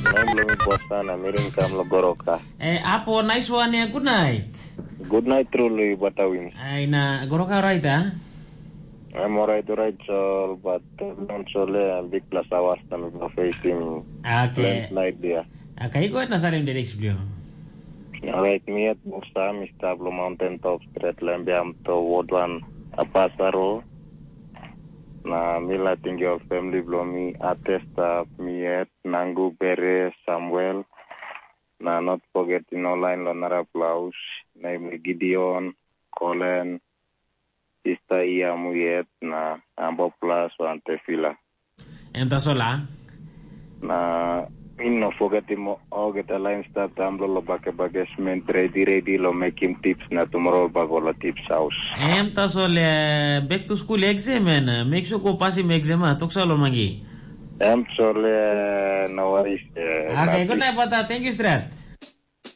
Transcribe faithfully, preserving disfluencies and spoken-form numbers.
Name lo mi Bosana, mirin kam lo Goroka. Eh, apo, nice one ya, good night. Good night, truly, Batawin. Ai, na Goroka right, ah? I'm alright, alright, Sol, but uh, don't Sol, uh, big plus hours na mi go facing Okay. Late night dia. Okay, go ahead na salim the next video. Alright, mi at Buksa, mi stap lo mountain top, straight lambiam to wodwan apasaro. Na mi la tinggi ol family blo mi, Atesta, mi at Nangu, Bere, Samuel. Na not forget in online lo narapla haus, name Gideon, Colin, Sista Ia, Muyet, na Ambo Plus wan Tefila. Em tasol a? Na mi no forget im olgeta lain stap daun lo bakebakesment, redi redi lo mekim tips na tumora ol bagola tips haus. Em tasol, eh, back to school exam, en, eh, make sure go pasim exam, ah, toksa lo mangi. Em tasol, eh, no worries, eh, Okay, good night, brother. Thank you, stress.